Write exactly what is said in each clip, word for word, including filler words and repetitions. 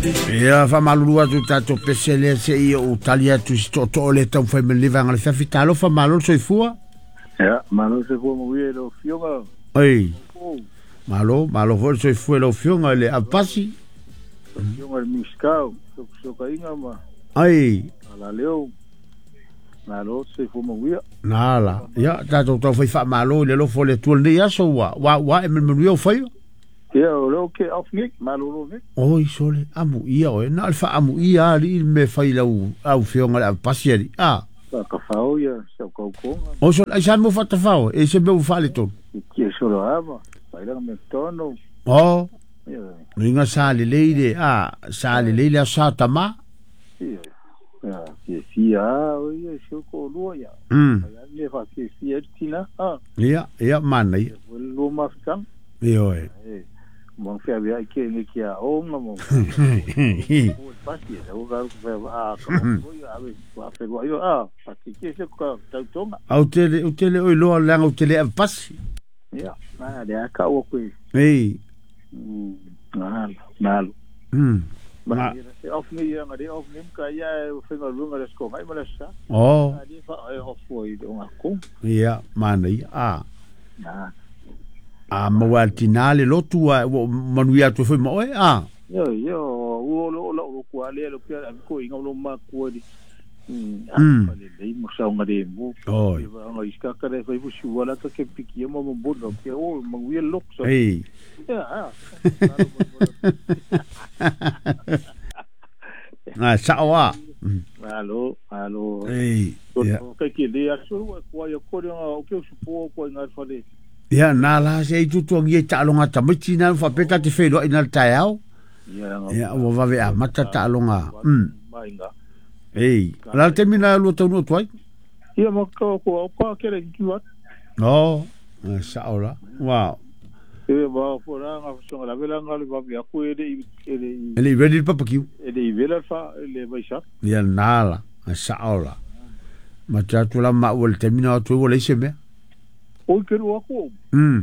Ia faamalulu atu tatou pese lea seia ou tali atu i se tootoo le taumafai mai lenei vaega o le afiafi. Talofa, malo le soifua. Ia, malo le soifua manuia i lau Afioga. Oi, malo, malo foi le soifua i lau Afioga i le Avepasi. Afioga i le Minisita o Fesootaiga ma Ai Alaleo. Malo le soifua manuia. Na la, ia tatou taufai faamalo i le alofa o le Atua i lenei aso ua ua ua ae ma le manuia o faiva. Ia, o lea ou te off nei, malolo nei. Oi sole, amuia oe, na o le faaamuia alii le mea fai i lau afioga i le Avepasi alii. A. Faatafao ia si au tautoga. O sole, ai sa mo faatafao, e se mea ua faaletonu. Tie solo ava, failaga mea tonu. O, luiga sa lelei le, a, sa lelei le aso sa tama. Ia, fiafia a o ia si au toalua ia. Mm. Ai a mea faafiafia ai le tina, a. Ia, ia, manaia. Ia foi le lua mafutaga. Ioe. E, mo feaveai ke nge ki a onga mo. O pasi e o ka fe a ka mo ia ave wa fe wa yo a pasi ke se ka tautonga. Au tele, au tele oi loa leaga au tele avepasi. Ia, na le a ka o koe. Ei. Malo, malo. Mm. Ma se off ni ia ngare off ni ka ia e whenga runga le sko mai ma le sa. Oh. Ali fa e off o i o ngako. Ia, manaia. A. Na. A maua e le tinā le lotu a ua manuia atu ai foi ma oe, a. Ioe, ioe, ua o lo o kua le lo pia ko inga lo ma kua di. Mm. A le mo sa ngare mo. Oi. Nga iska ka le fai fusi wala ka ke piki mo mo bodo ke o ma wi lok so. Ei. Ya. A. Na sao a. Alo, alo. Ei. Ia. Ka ke le aso kua ya ko nga o ke supo ko nga fale. Ia, nā la se i tutuangia i taaloga tamaiti na faapea ta te feiloai na le taeao. Ia, ua vave amata taaloga. Mm. Ei, o le a le taimi na lua taunuu atu ai? Ia, ma ko ko ko ke le ki wat. Oh, sao la. Wow. E ma fo la nga so la vela nga le va ya ko e le e le E le ready le papakiu. E le vela fa le vai sa. Ia nā la, sao la. Ma te atu la ma ua le taimi na atu ai ua leai se mea. Oi ke rua ko. Mm.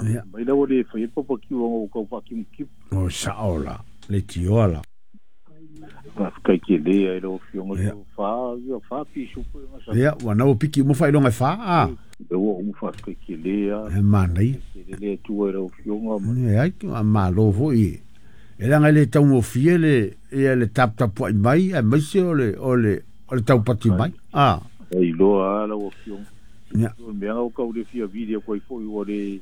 Ia. Mai la ua le fai e papakiu o kau fa ki ki. O sao la, le tioa la. Kai ke le ai lo fionga Ia. fa ia fa pi su po nga sa. Ia, ua nau piki uma faailoga e fā, a. E ua umu fa kai ke le a. E manaia. Ke le le tu ai lo fionga ma. E ai, a malo foi. E leaga e le taugofie le, ia le taputapuai mai, aemaise o le, o le, o le taupati mai. A. Ai loa a la ua fionga. Ia. O mea o kau le fia video koi foi ua le.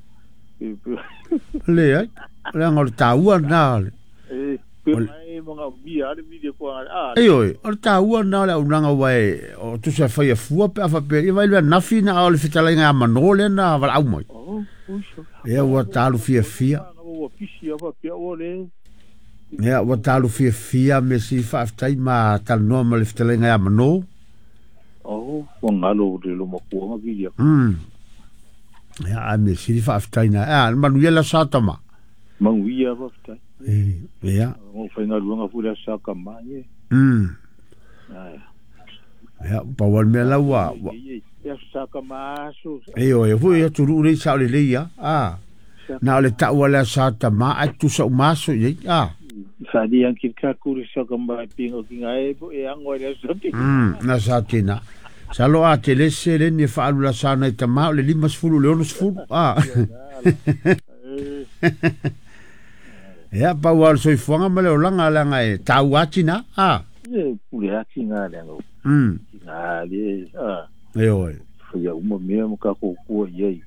Leai, leaga o le taua lena o le. E, pe mai mga mia le video ko a. Ei oi, o le taua lena o le auaunaga ua e o tusa e faia fua pe a faapea ia vai le anafi na o le fetalaiga ia manō lea na valaau mai. Oh, uso. Ia ua talu fiafia. Ua pisi a faapea ua le. Ia ua talu fiafia me si faafetai ma talanoa ma le fetalaiga ia manō. Oh, ua ngalo le lo makua nga video. Mm. Ia a me si faafetai na. A manuia la sa tama. Manuia faafetai. E, ia. O whainga ruanga fura sa ka mai. Mm. Ai. Ia, pa wal mea la ua. Ia sa ka maso. E oi, hui atu ruu lei sa o le lei ia. A. Na o le taua lea sa tama ai tusa o maso i a. Whani ang ki ka kuri sa ka mai pingo ki ngā e po e ango e sa te. Mm, na sa tēnā. Sa lo a te lese le ni e whaalu la sa nei tama o le lima sefulu le ono sefulu. A. Ia, pau a le soifuaga ma le olaga leaga e taua ati na, a. E, pule ati ngā leaga. Mm. Ngā le, a. E oe. Whaia uma mea mo ka kōkua i ai.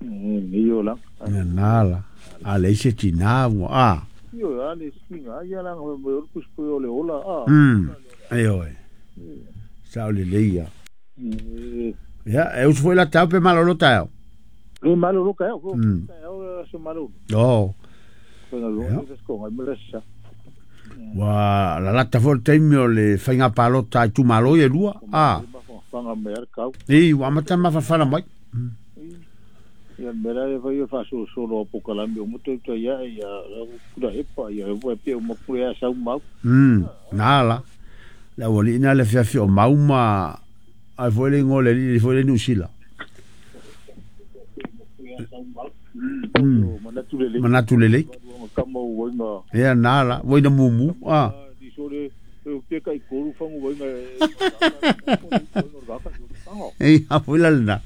Nei o langa. Ia nā la. A le ise tinā ua, a. Io, a le si ngā ia langa me ora kuspo o le ola, a. Mm. E oe. Sa o le leia. Ia, e usu foi la tau pe malolo taeao. E malolo ka eo. Mm. Taeao so malolo. Oh. Ua lalata foi le taimi o le faiga palota i itumalo ia e lua. A. Ei, ua amata mafanafana mai. Ia mera e fai e faasolosolo a pokalame o moto tai ia ia kura epa ia e pe o mapure a sau mau. Mm, nā la. Le aualii na le fiafia o mau ma ai foi le igoa o le alii foi le Niu Sila. Manatu lelei. Manatu lelei. Kama uainga. Ia nala, voina mumu. Ah. Di sole pe kai koru fangu voinga. Ei, afuila lena.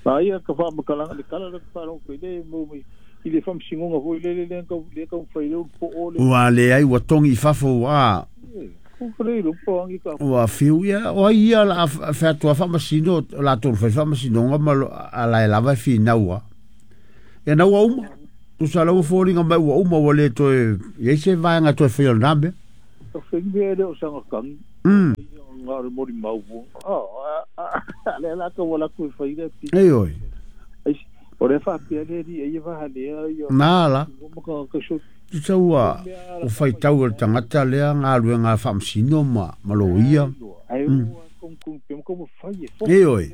Ma ia ka fa makalanga le kala le fa ro le mo i le fam singonga foi le le le ka le ka fai le po o le. Ua le ai ua tongi fafo a. Ua fiu ia o ia la fa tua fa masino la tolu fai fa masino ma ala e lava fi naua. Ia naua uma. Tu sa lau fōringa mai ua uma ua le toe ia se vaenga toe fai o le nambe. Ka whengi le o sanga kangi. Mm. Ngā re mori mau. Ah, le la ka wala ku fai le pi. Ei oi. Ai o le fa pia le ri e va le ia. Nā la. Ka ka so Tu sa ua o fai tau le tangata lea ngā lue ngā whamsino ma ma lo ia. Ai kong kong pe ko fai e. Ei oi.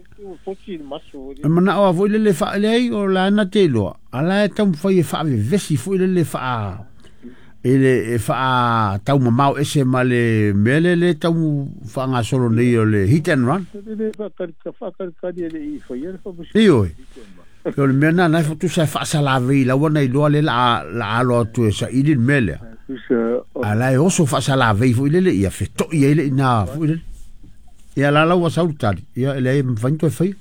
Fo ti maso. E mana o foi le le fa le o la na te loa. Ala e tau fai e fa vesi foi le le fa e le e fa tau mamao ese ma le mele le tau fa ngā solo nei o le hit and run. Le fa ka ka fa ka ka le i fai e fa. Ei oi. O le mea nā nai fotu sa whaasalawe i lawa nei loa le la la alo atu e sa ili le mele. A la e oso whaasalawe i fo i lele ia feto i eile i nā fo i lele. Ia la lau wa saulu tali. Ia ele e mwhainto e whai.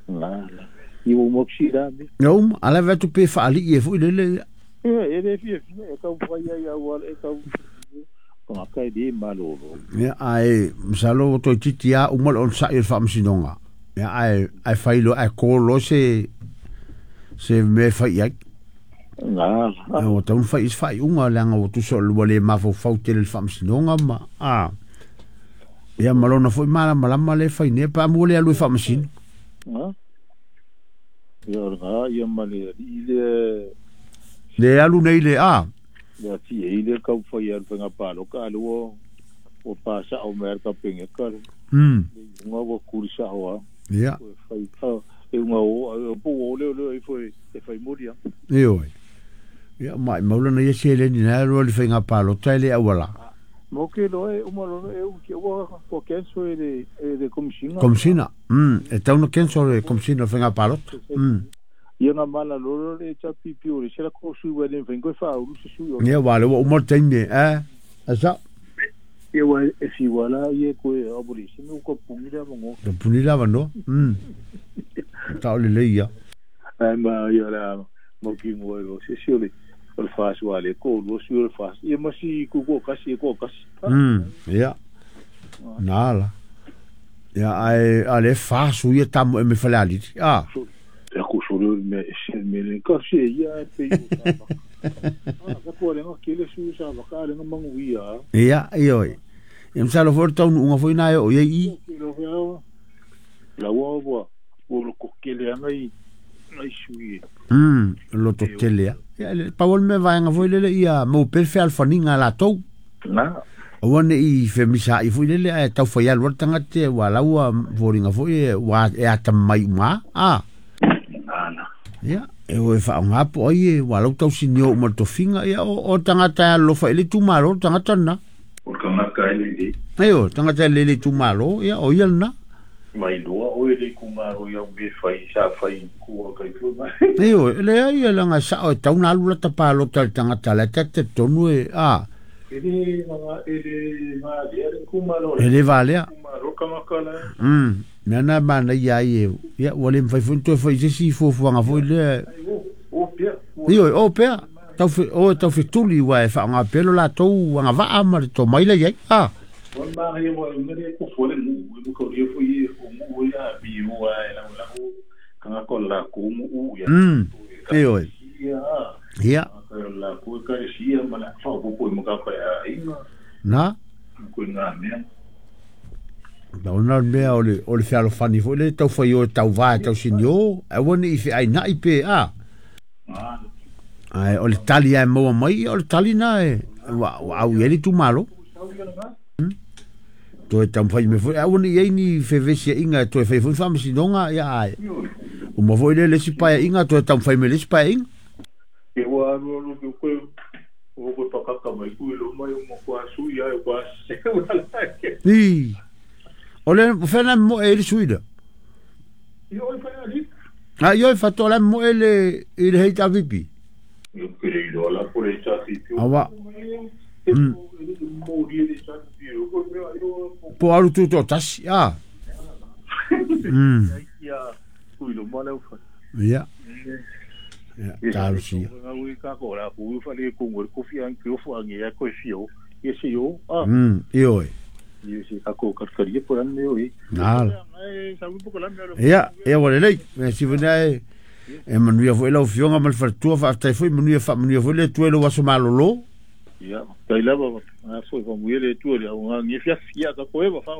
La la. I o moksi rā me. Ia uma, ala vetu pe whaali i e fo i lele. Ia e le fia fia e kau whai ai au e kau. Ka kai di malolo. Ia ai msalo o toi titi a umal on sa i le whaamasinonga. Ia ai ai whailo ai kōlo se se me fai ai. Ngā. O taun fai is fai unga leanga o tuso lua le mafau fau tele le whaamasinonga ma. Ah. Ia malona foi mala malama le fai ne pa mo le alu e whaamasino. Ngā. Ia ngā ia male i le le alu nei le a. Le ati e le kau fai alu whainga palo ka alu o o pa sa o mea ka penge ka. Mm. Ngā wa kuri sa hoa. Ia. Fai ka e unga o po o le le e foi e foi moria. E oi. Ia mai maulana ia se le ni na ro le whainga palo tai le awala. Mo ke lo e uma lo e u ke wa ko kenso e le e le komisina. Komisina. Mm, e tauna kenso le komisina whainga palo. Mm. Ia ngā mala loro le chapi piore se la ko su wa le whainga fa uru se su. Ia wa le wa umar taime eh. Asa. Ia wa e si wala ia ko e abori se no ko pungi la mo. Ko pungi la no. Mm. Tau le leia. Ai ma ia la mo ki mo e se si ole o le fas wa le ko lo si o le fas. Ia ma si ku ko kasi ko kasi. Mm. Ia. Nala. Ia ai ale fas u ia tamu e me falali. Ah. E ko solo me se me le ka se ia pe i. Ah, ka ko le ngā le su sa va ka le ngā mangu ia. Ia, ia oi. Ia msalo fo tau unga foi na o ia i. La wa wa o lo ko kele anga i ai sui. Mm, lo to tele. Ia le pawol me vaenga foi lele ia mo perfe alfaninga la tou. Na. O ne i femisa i foi lele e tau foi alu tangate wa laua voringa foi wa e ata mai uma. Ah. Na. Ia e o e whaonga po ai e wa lau tau sinio uma tofinga ia o, o tangata lo fa ile tumalo tangata na. O tangata ele le. E o tangata ele le tumalo ia o ia na. Mai loa o ele kumaro ia me fai sa fai ku kai ku mai. E o le ai la nga sa o tau na alu la tapalo tal tangata la tete tonu e a. Ele nga ele ma le kumaro. Ele valea. Kumaro kangaka la. Mm. Nana mana ia ia ia wale mfai fonto fai se si fo fo nga foi le. O pia. Io o pia. Tau fe o tau fe tuli wa e fa nga pelo la tou nga va ama to mai le ia. Ah. O ma hi wa ngere ko fo le mu mu ko ri fo i o mu ia bi wa la la o kanga ko la ko mu u ia. Mm. E oi. Ia. Ia. La ko ka si ia ma la fa ko ko mo ka ka inga. Na. Ko nga me. Da ona mea o le o le fealofani foi le tau fai o tau va tau sinio e woni i fe ai na i pe a. Ai o le tali ai maua mai o le tali na e wa wa au i tu malo. Toe tau fai me foi a woni i ni fe vesi inga toe fai foi faamasinoga ia ai. O mo foi le le si pae inga toe tau fai me le si pae inga. E wa alu alu ko ko o ko pakaka mai ku lo mai o mo kwa su ia e kwa se wala ke. Ni. O le whena mo e le suida. I o whena li. A io fatto la mo ele i le H V P. Io credo la polizia più. Awa. Mm. Po alu tu to tasi ah. Mm. Ya. Ya, talusia. Mm, io. Ia, ia ua lelei, mea sivana e e manuia foi lau fioga ma le faletua faafetai foi manuia faamanuia foi le Atua i lou aso malōlō. Ia, tai lava a foi famuia le Atua le augagie fiafi ia ka koe fa